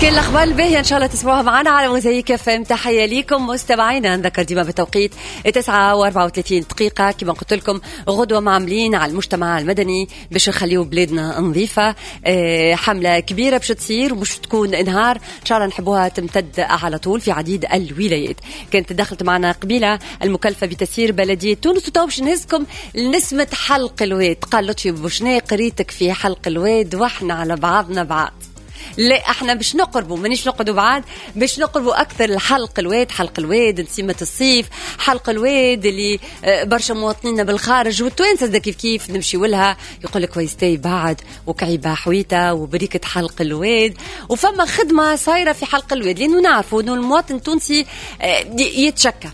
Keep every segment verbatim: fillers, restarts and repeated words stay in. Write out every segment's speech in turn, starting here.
كل الاخبار الباهيه ان شاء الله تسمعوها معنا على موزايك اف ام. تحية ليكم مستمعينا، نذكر ديما بالتوقيت تسعة وأربعة وثلاثين دقيقة. كما قلت لكم غدوه معاملين على المجتمع المدني باش نخليو بلادنا نظيفة. حمله كبيرة باش تصير ومش تكون نهار، ان شاء الله نحبوها تمتد على طول في عديد الولايات. كانت دخلت معنا قبيلة المكلفه بتسيير بلديه تونس، وتو باش نهزكم لنسمه حلق الواد. قال لطفي بوشناق قريتك في حلق الواد واحنا على بعضنا بعض. لا احنا باش نقربوا، مانيش نقعدوا بعاد، باش نقربوا اكثر لحلق الواد. حلق الواد نسيمة الصيف، حلق الواد اللي برشا مواطنين بالخارج والتوانسه كيف كيف نمشيو لها، يقول لك ويستي بعد وكعيبه حويته وبريكه حلق الواد. وفما خدمة صايرة في حلق الواد، لانه نعرفوا انه المواطن التونسي يتشكى.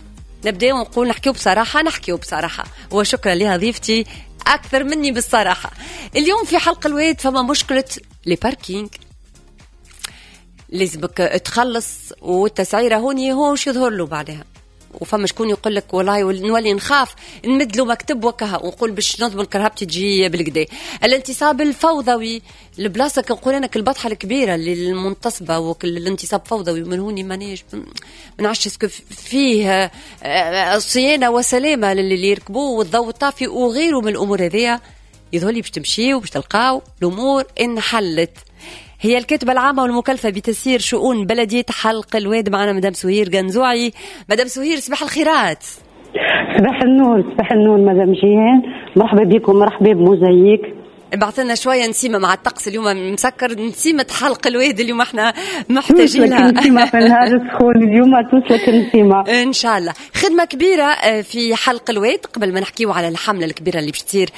نبداو ونقول نحكيو بصراحة، نحكيو بصراحة، وشكرا لها ضيفتي اكثر مني بالصراحه. اليوم في حلق الواد فما مشكلة les parkings، لازمك تخلص والتسعيره هوني هو وش يظهر له بعدها. وفما شكون يقول لك والله نولي نخاف نمد له مكتب وكها ونقول باش نضمن كرهبتي تجي بالكدا. الانتصاب الفوضوي، البلاصة كنقول انا البطحه الكبيرة اللي المنتصبه والانتصاب فوضوي من هوني مانيش ما نعرفش est-ce que فيه صيانة وسلامه للي يركبوه والضوء الطافي وغيره من الامور هذيا. يظهر لي باش تمشيو باش تلقاو الامور انحلت. هي الكاتبة العامة والمكلفة بتسيير شؤون بلدية حلق الواد معنا مدام سهير قنزوعي. مدام سهير صباح الخيرات. صباح النور. صباح النور مدام جيهان، مرحبا بكم، مرحبا بموزايك. بعث لنا شوية نسيمة مع الطقس اليوم مسكر، نسيمة حلق الواد اليوم احنا محتاجين لها. نسيمة في النهار السخون اليوم توصلك نسيمة ان شاء الله. خدمة كبيرة في حلق الواد قبل ما نحكيو على الحملة الكبيرة اللي باش تصير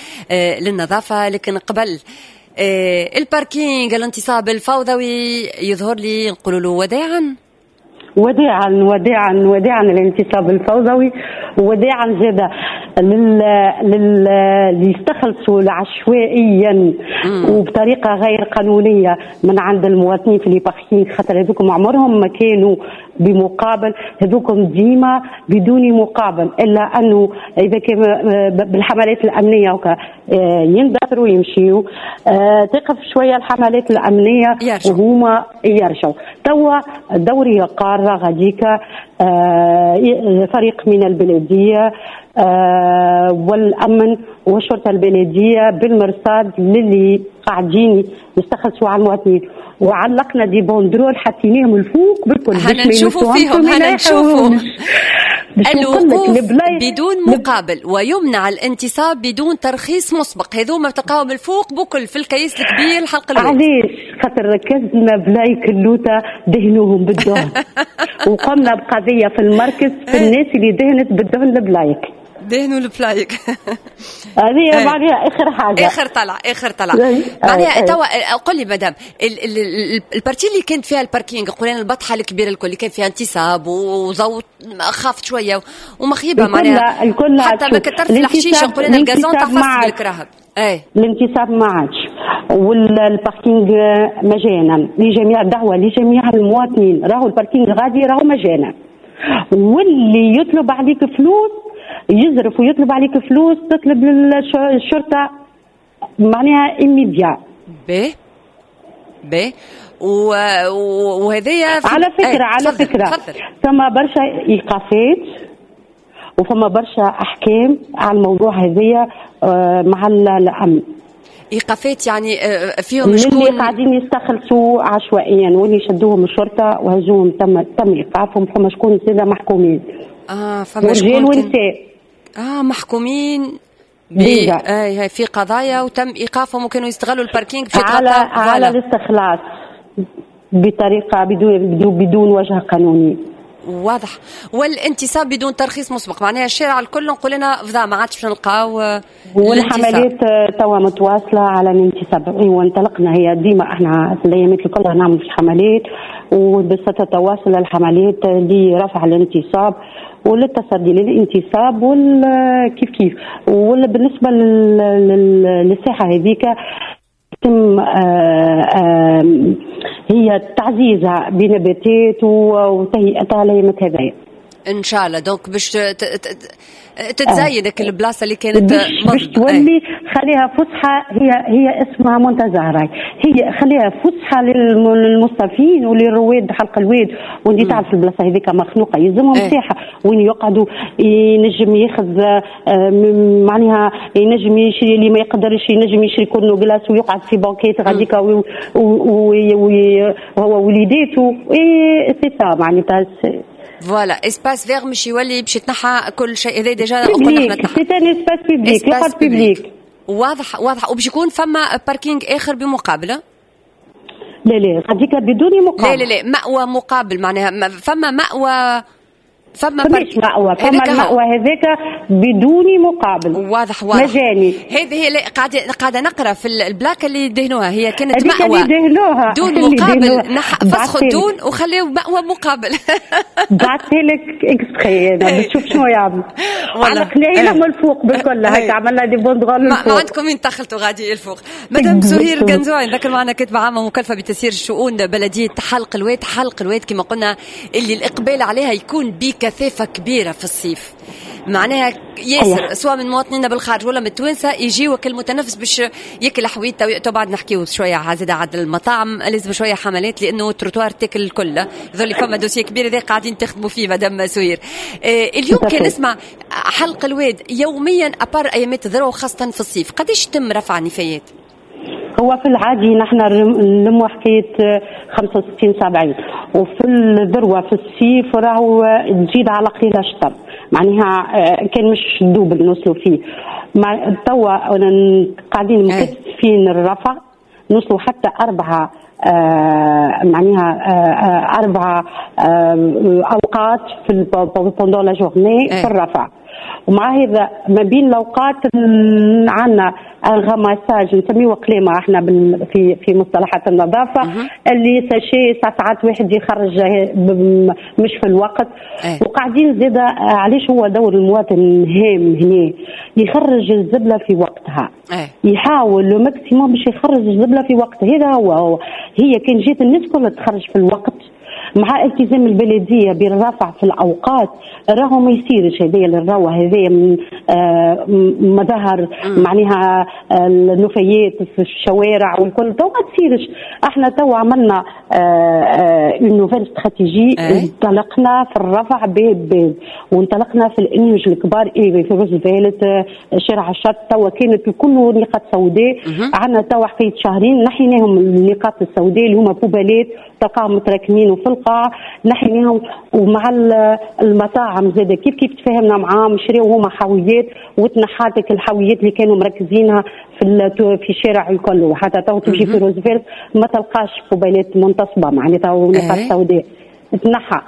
للنظافه، لكن قبل ال parking الانتصاب الفوضوي يظهر لي نقولوا له وداعا وداعا وداعا وداعا الانتصاب الفوضوي، وداعا زاده لل لل اللي يستخلصوا عشوائيا وبطريقة غير قانونية من عند المواطنين في les parkings، خاطر هذوكم عمرهم ما كانوا بمقابل، هذوكم ديما بدون مقابل، الا انه اذا كان بالحملات الامنية يندثروا ويمشيوا، تقف شوية الحملات الامنية وهما يرجعوا. توا دورية قارة غاديكا فريق من البلدية والامن والشرطة البلدية بالمرصاد للي قاعدين يستخلصوا على المواطنين، وعلقنا des banderoles حطيناهم الفوق بالكل هنا نشوفوا فيهم، هنا نشوفوا الوقوف بدون مقابل ويمنع الانتصاب بدون ترخيص مسبق. هذوما تلقاهم الفوق بكل في الكيس الكبير الحلق الواد. علاش؟ خاطر ركزنا بلايك اللوطه دهنوهم بالدهن وقمنا بقضيه في المركز في الناس اللي دهنت بالدهن البلايك، دهنوا البلايك. هذه معناها اخر حاجة، اخر طلع، اخر طلع معناها. توا قل لي مدام ال partie اللي كانت فيها ال parking، قلنا البطحه الكبيرة الكل اللي كان فيها انتصاب وضوء خافت شوية ومخيبه معناها الكل، حتى ما كترف الحشيشه قلنا ال gazon تفص بالكراهب. اي الانتصاب ما عادش، وال parking مجانا لجميع، الدعوة لجميع المواطنين، راهو ال parking غادي راهو مجانا، واللي يطلب عليك فلوس يزرف ويطلب عليك فلوس تطلب للشرطة معناها immédiat. باهي باهي وهذايا على فكرة. على فكرة ثم برشا ايقافات وفما برشا احكام على الموضوع هذايا مع الامن. ايقافات يعني فيهم شكون اللي قاعدين يستخلصوا عشوائيا واللي شدوهم الشرطة وهزوهم تم تم ايقافهم، فما شكون زاد محكومين. اه فما شكون رجال ونساء اه محكومين ب آه في قضايا وتم ايقافهم وكانوا يستغلوا ال parking باش على على الاستخلاص بطريقة بدون بدون, بدون وجه قانوني واضح، والانتصاب بدون ترخيص مسبق معناها الشارع الكل نقول لنا فضا ما عادش باش نلقاو. والحملات توا متواصلة على الانتصاب، وانطلقنا هي ديما احنا في الايامات الكل نعمل في حملات، وبستتواصل الحملات لرفع الانتصاب وللتصدي للانتصاب والكيف كيف. ولا بالنسبة للساحه هذيك يتم هي تعزيزها بنباتات وتهيئتها ليمة هذايا. ان شاء الله. donc باش تتزين آه. البلاصة اللي كانت باش تولي خليها فسحة، هي هي اسمها منتزه راي، هي خليها فسحة للمصطفين وللرواد حلق الواد، وانت تعرف البلاصة هذيك مخنوقه، يلزمهم مساحة وين يقعدوا، ينجم ياخذ معناها ينجم يشري، اللي ما يقدرش ينجم يشري كل glace ويقعد في banquette غاديك وهو وليداته، c'est ça معناتها. voilà espace vert مش يولي باش يتنحى كل شيء هذا déjà قلنا احنا تنحى. c'est un espace public، يقعد public. واضح واضح. وباش يكون فما parking اخر بمقابله؟ لا لا، غاديك بدون مقابل. لا لا لا، مأوى مقابل معناها فما مأوى، فما فماش مأوى، فما المأوى هذاك بدون مقابل. واضح واضح. مجاني. هذه هي قاعدة قاعدة نقرا في ال plaque اللي دهنوها، هي كانت مأوى اللي دهنوها دون مقابل، نح... فسخوا الدون وخليوا مأوى مقابل. بعثت لك extrait انا باش تشوف شنو يعمل. على قليله من الفوق بالكل هكا عملنا des banderoles. ما عندكم وين دخلتوا غادي الفوق. مدام سهير قنزوعي، نذكر معنا كاتبه عامة مكلفة بتسيير الشؤون بلديه حلق الواد. حلق الواد كما قلنا اللي الاقبال عليها يكون بكثافة كبيرة في الصيف، معناها ياسر سواء من مواطنينا بالخارج ولا من التوانسة يجيو كالمتنفس باش ياكل حويته. بعد نحكيو شوية زاد على المطاعم، لازم شوية حملات لانه التروتوار تاكل الكل، يظل فما dossier كبير هذا قاعدين تخدموا فيه مدام سهير. آه اليوم كان نسمع حلق الواد يوميا à part ايامات الذروة وخاصة في الصيف، قداش تم رفع النفايات؟ هو في العادي نحن نلموا حكاية خمسة وستين سبعين، وفي الذروة في الصيف راهو تزيد على قليله شطر، معناها كان مش double نوصلوا فيه. مع توا قاعدين مكثفين الرفع، نوصلوا حتى أربعة آه معناها آه أربعة آه أوقات في pendant la journée في الرفع. ومع هذا ما بين الاوقات عندنا un ramassage نسميه قليمه احنا في في مصطلحات النظافة، اللي sachets ساعات واحد يخرج مش في الوقت. أه. وقاعدين زاده علاش هو دور المواطن هام هنا، يخرج الزبله في وقتها. أه. يحاول le maximum باش يخرج الزبله في وقتها. هذا هو, هو هي كان جات الناس كلها تخرج في الوقت مع التزام البلدية بالرفع في الاوقات، راهو ما يصيرش هذايا للروه هذايا من آه مظاهر معناها النفايات في الشوارع والكل، تو ما تصيرش. احنا تو عملنا une nouvelle stratégie، انطلقنا في الرفع باب باب، وانطلقنا في الانيوج الكبار في روزفلت شارع الشط، تو كانت الكل نقاط سوداء. عندنا تو حكاية شهرين نحيناهم النقاط السوداء اللي هما poubelle ات تلقاهم متراكمين وفي القاع، نحيناهم. ومع المطاعم زاد كيف كيف تفاهمنا معاهم، شريو هما حاويات وتنحاتك الحاويات اللي كانوا مركزينها في في الشارع الكل. وحتى تو تمشي في روزفلت ما تلقاش poubelle ات منتصبه معناتها ونقاط سوداء تنحى.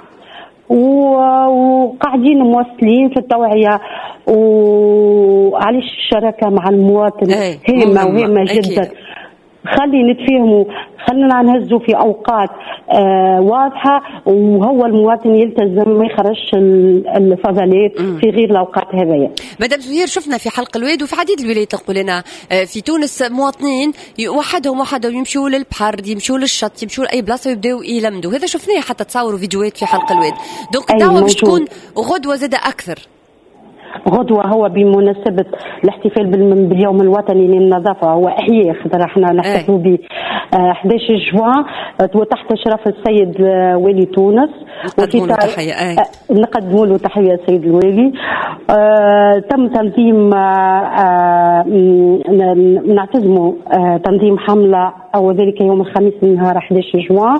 وقاعدين مواصلين في التوعية. وعلاش الشراكة مع المواطن هامة وهامه جدا. خلي نتفاهموا، خلينا نهزوا في اوقات آه واضحة، وهو المواطن يلتزم ما يخرجش الفضلات في غير الاوقات هذيا. مدام سهير، شفنا في حلق الواد وفي عديد الولايات نقول انا في تونس مواطنين وحدهم وحدهم يمشوا للبحر، يمشوا للشط، يمشوا لاي بلاصة ويبداو يلمدوا. هذا شفناه حتى تصوروا فيديوهات في حلق الواد. donc الدعوة باش تكون غدوه زاده اكثر. غدوة هو بمناسبة الاحتفال باليوم الوطني للنظافة، هو إحياء خاطر احنا نحتفلوا به أحد عشر جوان وتحت إشراف السيد والي تونس. نقدموا له تحية. نقدموا له تحية السيد الوالي. آه تم تنظيم آه نعتزموا آه تنظيم حملة أو ذلك يوم الخميس نهار أحد عشر جوان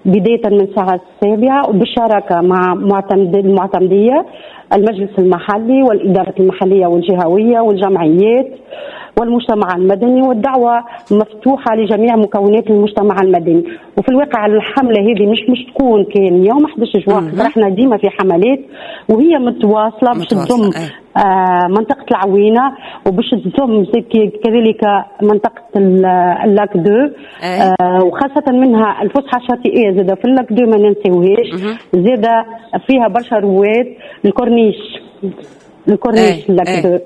بداية من الساعة السابعة، وبالشراكة مع معتمد المعتمدية، المجلس المحلي والإدارة المحلية والجهوية والجمعيات والمجتمع المدني، والدعوة مفتوحة لجميع مكونات المجتمع المدني. وفي الواقع الحملة هذه مش مش تكون كان يوم أحد عشر جوان، احنا ديما في حملات وهي متواصلة باش تضم آه منطقة العوينة، وباش تضم كذلك منطقة ال lac deux، آه وخاصة منها الفسحة الشاطئية زادة في ال lac deux ما ننساوهاش، زادة فيها برشا رواد، الكورنيش الكورنيش ال lac deux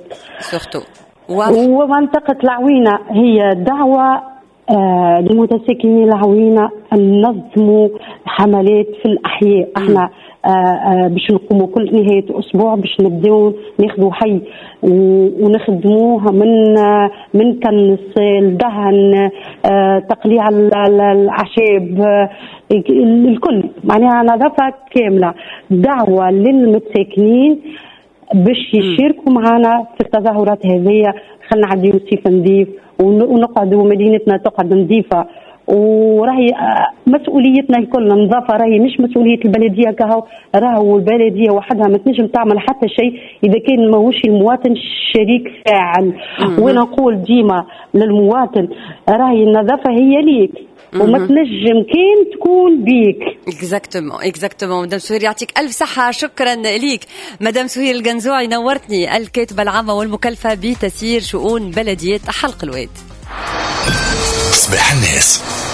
surtout. ومنطقة العوينة هي دعوة آه لمتساكني العوينة ننظموا حملات في الاحياء. احنا آه آه باش نقوموا كل نهاية اسبوع باش نبداو ناخذوا حي ونخدموه من آه من كنس الدهن، آه تقليع الاعشاب، آه الكل، معناها نظافة كاملة. دعوه للمتساكنين باش يشاركوا معنا في التظاهرات هذه، خلينا نعديو صيف نظيف ونقعدوا مدينتنا تقعد نظيفة. وراهي مسؤوليتنا الكل النظافة، راهي مش مسؤولية البلدية كهو، راهو البلدية وحدها ما تنجم تعمل حتى شيء اذا كان ماهوش المواطن شريك فاعل. وانا نقول ديما للمواطن راهي النظافة هي ليك وما تنجم كان تكون بيك. exactement exactement. مدام سهير يعطيك الف صحة، شكرا ليك مدام سهير القنزوعي، نورتني، الكاتبة العامة والمكلفه بتسيير شؤون بلديه حلق الواد. صباح الناس.